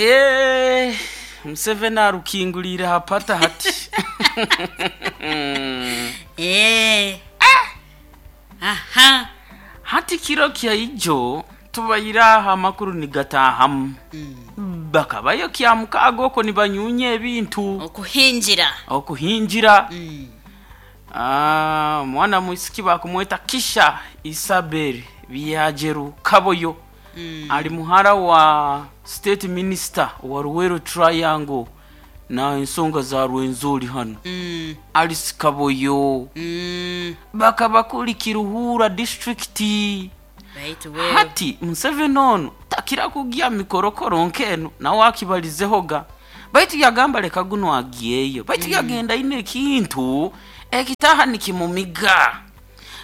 Eh, Museveni arukinguliire ha pata hati. Eh. Aha. Hati kiro kyaijo tubaire aho amakuru nigataahamu. Bakabayo Kyamukaaga okwo nibanyuunya ebintu. Okuhingira. Okuhingira. Ah, omwana mwisiki bakumweta Kisha Isabel Byajeru Kaboyo. Ali muhara wa State Minister wa Luweero Triangle na ensonga za Rwenzori hanu. Alice Kaboyo. Bakaba kuli Kiruhura District. Baitu wewe. Hati Museveni onu takira kugya mikorokoro nk'enu nawe akibalizehoga, baitu yagamba leka guno agyeyo, baitu yagenda aine ekintu ekitaha nikimumiga.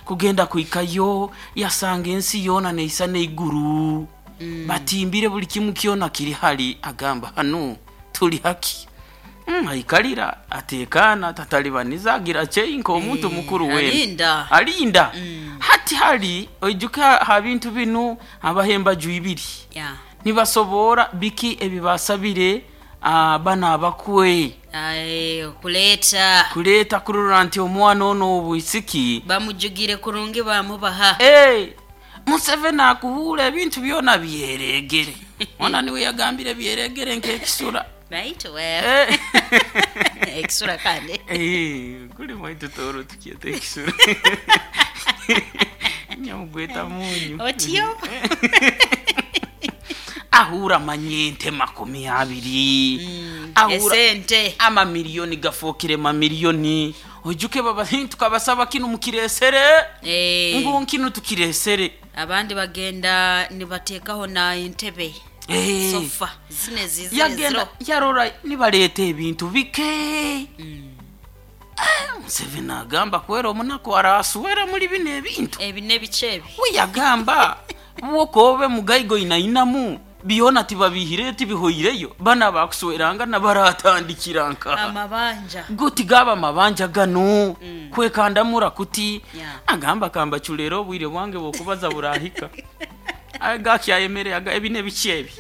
Kugenda kuhikayo yasanga ensi yoona neisa n'eiguru, batimbire buli kimu kyona kiri hali, agamba hanu tuli haki. Aikalira atekana, tatalibaniza, agira chei nk'omuntu mukuru wena. Alinda. Alinda. Hati hali oijuka ha bintu binu habaho embaju ibiri. Nibasoboora biki ebibasabire bana abakwe. Aye, kuleeta. Kuleeta kurora nti omwana ono obwisiki. Bamujugire kurungi bamubaha. Museveni akuhuura ebintu byona byeregere. Ona niwe yagambire byeregere nk'ekisura. Baitu wewe. Ekisura kandi. Kuli mwaitu toro tukyeta ekisura. Nyamugweta munyu. Otyo. Ahura manyente 20. Ahura Esente. Amamiliyoni gafookire mamiliyoni. Oijuke baba tukabasaba kinu mukiresere. Ngu nkinu tukiresere. Abandi bagenda nibateekaho na entebe. Sofa zine zizire Yagenda ziro. yarora nibaleta ebintu bike. Museveni agamba kwera omunaku araswera muri bino ebintu. Ebi n'ebice ebi. We yagamba wokobe mugaigo inainamu byona tibabihire tibihoireyo bana bakusweranga nabaratandikira nka. Amabanja. Guti gaba amabanja gano. Kwekandamura kuti. Agamba kamba chulero obwire bwange bwokubaza burahika. Aga kyayemere aga ebi n'ebici ebi.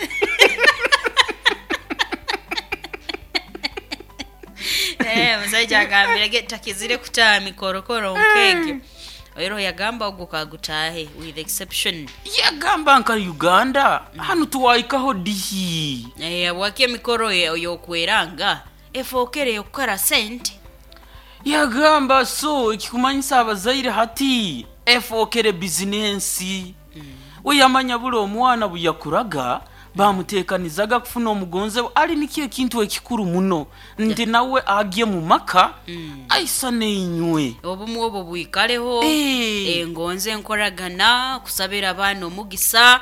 Musajja agambire ge takizire kutaha mikorokoro nk'egyo. Oiro yagamba ogwo kagutahe with exception. Yagamba nka Uganda hanu tuwaikaho dihi. Bwaki emikoro yokweranga efookere yokukora sente. Yagamba so ekikumanyisa abazaire hati efookere bizinensi. We yamanya buli omwana buyakuraga bamutekanizaga kufuna omugonze ali nikyo ekintu ekikuru muno nti nawe agye mu maka aisa neinywe. Obumu obwo bwikaleho, engonze enkoragana kusabira abaana omugisa.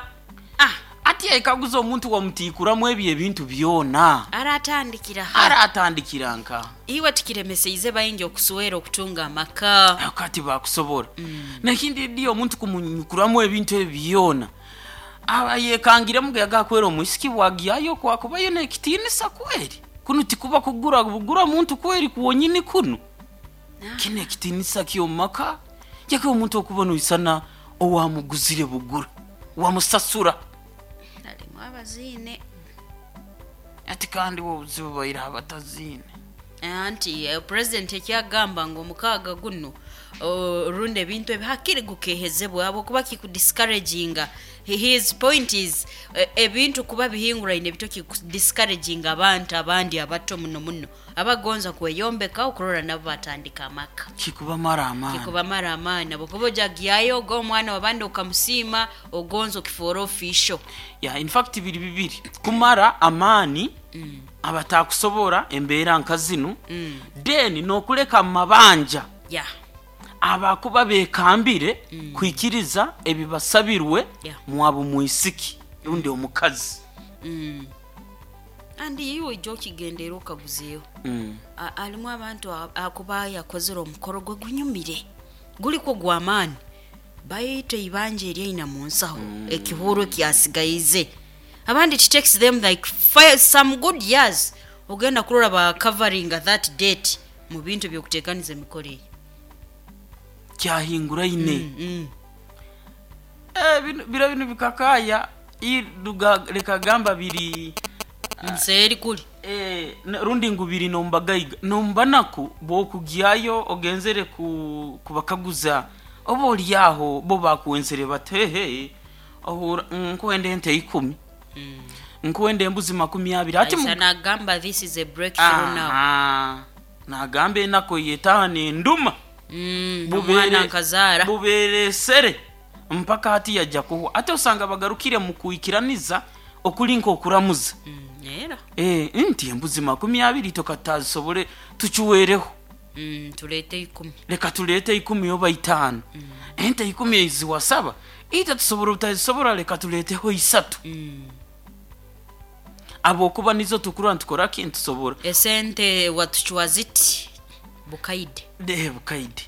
Ati ekaguza omuntu wamutikuramu ebyo ebintu byona. Aratandikira ha. Aratandikira nka. Iwe tikiremeseize baingi okuswera okutunga amaka. Kati bakusobora. Nekindi ndiyo omuntu kumunyukuramu ebintu ebyo byona. Aba yekangiremu yagakwera omwisiki bwagyayo kwakubayo nekitinisa kweri. Kuno tikuba kugura bugura muntu kweri kuwonyini kuno. Kine ekitinisa ky'omaka. Yake omuntu okubona oisana owamuguzire bugura. Wamusasura. Alimu abazine. Ati kandi obuzibu baira abatazine. Anti president ekyagamba ngu omukaaga guno rundi ebintu ebi hakiri gukehezebwa habwokuba kikudiscouraginga. His point is ebintu kuba bihinguraine bito kikudiscouraginga abantu abandi abato muno muno abagonza kweyombeka okurora nabo batandika amaka. Kikubamara amaani. Kikubamara amaani. Habwokuba ojagyayo oga omwana w'abandi okamusiima ogonza okifoora official. Yeah, in fact biri bibiri. Kumara amaani abatakusobora embeera nka zinu, then n'okuleka mabanja. Abakuba bekambire kwikiriza ebibasabirwe mwabu mwisiki rundi omukazi. Andi iwe ojja okigendera okaguzeeho. Alimu abantu akuba yakozere omukoro gwe gunyumire guliko gw'amaani baitu eibanja eryaina mu nsaho ekihuro kyasigaize. Abandi it takes them like some good years ogenda kurora ba covering that date mu bintu by'okuteekaniza emikoro eyo. Kyahinguraine. Biro bino bikakaya leka gamba biri. Nseeri kuli. Rundi ngu biri nombagaiga nombanaku bwokugyayo ogenzere kubakaguza oba oli aho bo bakuwenzere bati hehe ohura nkwenda ente 10, nkwenda embuzi 20 ati. Aisa nagamba this is a breakthrough now. Aha. Nagamba enako yetaha nenduma. Omwana nkazaara. Buberesere mpaka hati yajja kuhwa ate osanga bagarukire mu kwikiraniza okuli nk'okuramuza. Era Nti embuzi 20 tokatazisobole tukiwereho. Tuleete 10. Leka tuleete 10 oba 5, ente 10 eziwasaba ita tusobora obutazisobora, leka tuleeteho 3. Abokuba nizo tukurwa ntukora ki ntusobora. Esente watuchwa ziti bukaide. Bukaide.